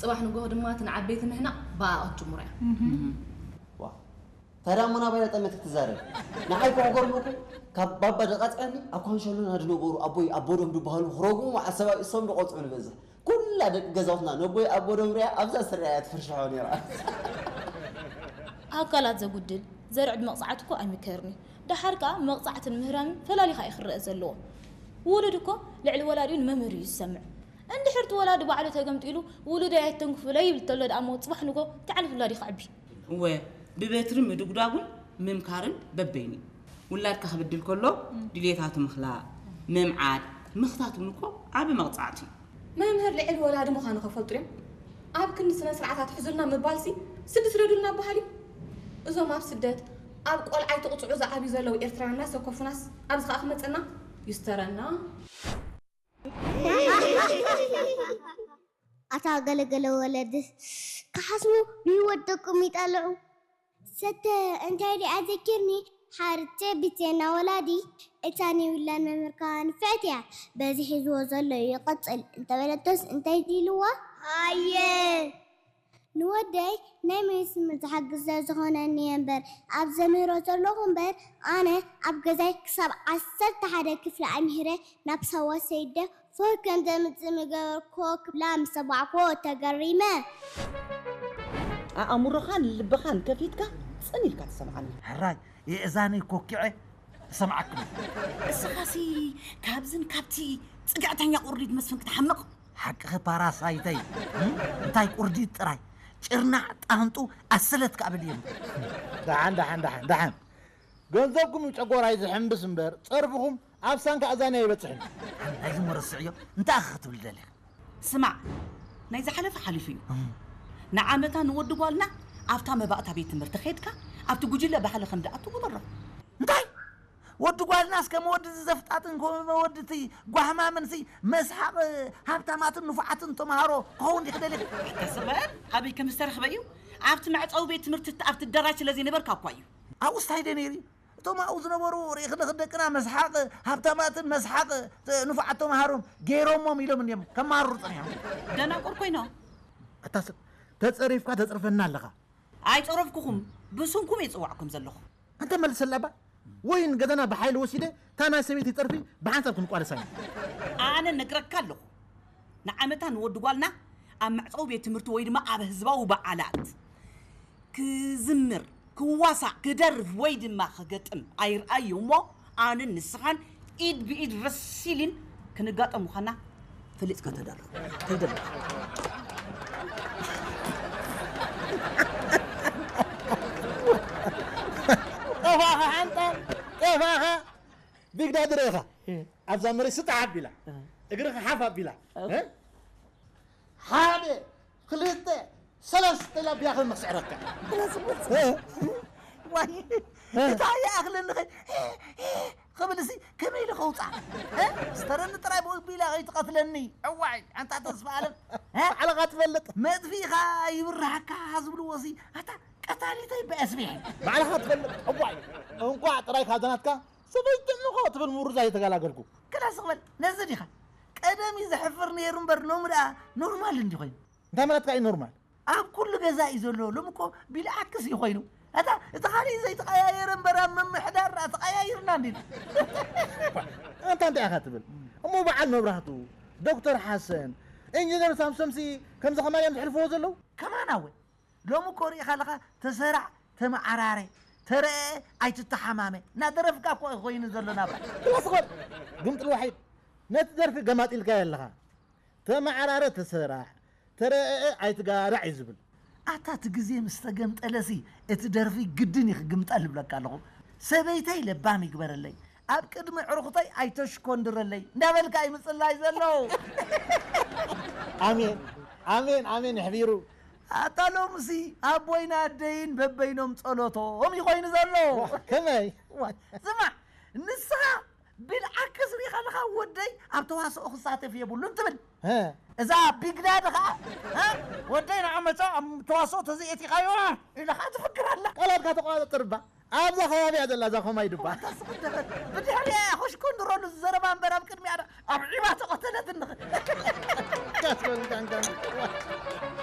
ጽባሕ ንግሆ ድማ እቲ ንዓበይቲ ምህናቕ ብኣ ክትጅምሮ እያ። ዋ፣ ታዲያ እሞ ናባይ ጠመት ክትዛረብ? ንዓይ እኮ ክገርመኩም፣ ካብ ባባ ደቃጽያኒ ኣብ ኳንሸሎና ዝነበሩ ኣቦይ ኣቦዶም ዝበሃሉ ክረግሙ ዓሰብ እሶም ዝቆጽዑ ንበዝሕ። ኩላ ደቂ ገዛውትና ነቦይ ኣቦዶም ሪኣ ኣብዛ ስርያ እያ ትፍርሽሖ ነይራ። ኣካላት ዘጉድል ዘርዕድ መቕጻዕቲ እኮ ኣይምከርን እዩ። ደሓር ከኣ መቕጻዕትን ምህራምን ፈላሊኻ እዩ ክረአ ዘለዎ። ውሉድ እኮ ልዕሊ ወላዲኡ ንመምህር እዩ ዝሰምዕ። እንድሕር እቲ ወላዲ ባዕሉ ተገምጢሉ ውሉደይ ኣይተንክፉለይ ይብል ተሎ ደኣ እሞ ጽባሕ ንጎ እንታይ ዓይነት ውላድ እዩ ከዕቢ? እወ፣ ብበትሪ ምድጉዳጉን ምምካርን በበይኑ እዩ። ውላድካ ክብድል ከሎ ድልየታቱ ምኽላእ፣ ምምዓድ፣ ምኽታት እውን እኮ ዓቢ መቕጻዕቲ እዩ። መምህር ልዕሊ ወላዲ ምዃኑ ከፈልጡ ድዮም? ኣብ ክንዲ ስነ ስርዓት ኣትሕዙልና ምባልሲ ስዲ ስደዱልና በሃል እዩ። እዞም ኣብ ስደት ኣብ ቆልዓ ኣይትቕጽዑ ዝዓብዩ ዘለዉ ኤርትራውያን እናሰከፉናስ ኣብዚ ከኣ ክመጸና ይስተረና። ኣታ ገለገለ ወለድስ ክሓስቡ ብህይወት ደቆም ይጣልዑ። ሰተ እንታይ ደኣ ዘኪርኒ ሓርቼ ብቴና ወላዲ እታ ኒውላን መምህርካ ንፍዕቲ እያ በዚ ሒዝዎ ዘሎ ይቐጽል እንተበለቶስ እንታይ ኢልዋ? ኣየ ንወደይ ናይ መይስ ትምህርቲ ሓግዝ ስለ ዝኾነኒ እየ እምበር ኣብ ዘምህሮ ዘለኹ እምበር ኣነ ኣብ ገዛይ ክሳብ ዓሰርተ ሓደ ክፍሊ ኣምሂረ ናብ ሳዋ ሰይደ ፎር ከም ዘምጽእ ምገበርክዎ ክብላ ምስ ሰማዕክዎ ተገሪመ። ኣእምሮኻን ልብኻን ከፊትካ ጽን ኢልካ ትሰምዓኒ። ሕራይ የእዛነይ ኮኪዐ እሰምዓክን። እስኻሲ ካብዝን ካብቲ ጽግዕተኛ ቁርዲድ መስፍን ክትሓምቕ። ሓቅኺ ፓራሳይተይ እንታይ ቁርዲድ ጥራይ ጭርናዕ ጣንጡ ኣሰለት ክኣብል እየ። ደሓን ደሓን ደሓን ደሓን ገንዘብኩም ጨጎራይ ዝሕምብስ እምበር ጸርፍኹም ኣብ ሳንካ ኣዛንያ ኣይበጽሕን። ናይዚ መረስዕዮ እንታይ ኣኸ ክትብል ደሊኻ? ስማዕ ናይ ዝሓለፈ ሓሊፉ እዩ። ንዓመታ ንወዲ ጓልና ኣብታ መባእታ ቤት ትምህርቲ ኸይድካ ኣብቲ ጉጅለ ባህሊ ከም ድኣትዎ በሮ። እንታይ ወዲ ጓልናስ ከም ወዲ ዘፍጣጥን ከም ወዲ እቲ ጓህማምን ሲ መስሓቕ ሃብታማትን ንፉዓትን ተምሃሮ ክኸውን ድዩ ክደሊ? ተስበ ኣበይ ከም ዝተረኽበ እዩ ኣብቲ መዕፀዊ ቤት ትምህርቲ ኣብቲ ኣዳራሽ ስለ ዘይነበርካ እኳ እዩ። ኣብኡ ስታይ ደ ነይሩ እቶም ኣብኡ ዝነበሩ ርኢኽልኽ ደቅና መስሓቕ ሃብታማትን መስሓቕ ንፉዓት ተምሃሮም ገይሮሞም ኢሎም እንዲዮም ከማርሩ ፀኒሖም። ደናቁር ኮይኖም። ኣታ ሰብ ተፀሪፍካ ተፅርፈና ኣለኻ። ኣይፀረፍኩኹም ብስምኩም እየ ዝፅዋዕኩም ዘለኹ። ኣንተ መልሰላ እባ ወይ ንገዛና ብሓይሊ ወሲደ እታ ናይ ሰበይቲ ፀርፊ ብሓንሳብ ክንቋደሳ ኢና። ኣነ ነግረካ ኣለኹ ንዓመታ ንወዲ ጓልና ኣብ መዕፀዊ ቤት ትምህርቲ ወይ ድማ ኣብ ህዝባዊ በዓላት ክዝምር፣ ክዋሳእ፣ ክደርፍ ወይ ድማ ክገጥም ኣይርኣዮ እሞ ኣነን ንስኻን ኢድ ብኢድ ረሲሊን ክንጋጠም ምዃንና ፈሊጥካ ተዳሎ። ተደሎ። ጠፋኻ ሓንጣ ጠፋኻ ቢግዳድር ኢኻ ኣብዛ መሬት ስጣሕ ኣቢላ እግርኻ ሓፍ ኣቢላ ሓደ ክልተ ሰለስተ ኢላ ብያኸ መስዕረካ ዋይ እንታይ ይኣኽለኒ ኸ ክብል ሲ ከመይ ኢሉ ከውፃ ስተረኒ ጥራይ ብኡ ቢላ ከይትቐትለኒ እዋይ ኣንታ ተስፋ ኣለም ባዕልኻ ትፈልጥ መጥፊእኻ ይብርሃካ ዝብልዎ ሲ ኣታ ቀታሊተይ በስሚዐ ባዕልኻ ትፈልጥ እዋይ እንኳዕ ጥራይ ካብዛ ናትካ ሰበይቲ እምኻ ትብል ምሩዛ እየ ተገላገልኩ ክላስ ክበል ነዚ ዲኻ ቀደም እዩ ዘሕፍር ነይሩ እምበር ሎሚ ደኣ ኖርማል እንዲ ኮይኑ እንታይ ማለትካ እዩ ኖርማል ኣብ ኩሉ ገዛ እዩ ዘሎ ሎም እኮ ቢልዓክስ እዩ ኮይኑ እታ እቲ ካሊእ ዘይተቀያየረ እምበር ኣብ ምምሕዳር ደኣ ተቀያይርና እንዲ ኣንታ እንታይ ኢኻ ትብል እሞ በዓል መብራህቱ ዶክተር ሓሰን ኢንጂነር ሳምሶምሲ ከምዚ ከማን እዮም ዝሕልፍዎ ዘለዉ ከማና ወ ሎሚ እኮ ሪኢኻ ኣለኻ ተሰራዕ ተመዓራረ ተረአ ኣይትተሓማመ እናደረፍካ እኮ ኮይኑ ዘሎ ናብራ ክላስ ኾር ግምጥል ዋሒድ ነቲ ደርፊ ገማጢልካዮ ኣለኻ ተመዓራረ ተሰራሕ ተረአ ኣይትጋራዕ እዩ ዝብል ኣታ እቲ ግዜ ምስ ተገምጠለሲ እቲ ደርፊ ግድን እዩ ክግምጠል እብለካ ኣለኹ ሰበይተይ ለባም ይግበረለይ ኣብ ቅድሚ ዕሩኽተይ ኣይተሽኮንድረለይ እንዳበልካ እዩ ምፅላይ ዘሎ ኣሜን ኣሜን ኣሜን ይሕቢሩ ኣታ ሎምሲ ኣቦይን ኣደይን በበይኖም ጸሎቶም እዩ ኮይኑ ዘሎ ከመይ ስማዕ ንስኻ ብልዓክስ ሪኻ ኣለኻ ወደይ ኣብ ተዋስኦ ክሳተፍ የብሉን ትብል እዛ ቢግዳድ ኸዓ ወደይ ንዓመፃ ኣብ ተዋስኦ ተዘየቲኻዮ ኢልኻ ትፍክር ኣላ ቃላትካ ተቋፀጥር እባ ኣብዛ ከባቢ እያ ዘላ እዛ ኾማይ ድባ ብድሕሪያ ኮሽኮንድረሉ ዝዘረባ እምበር ኣብ ቅድሚያ ኣብ ዒባ ተቐተለት እንኽ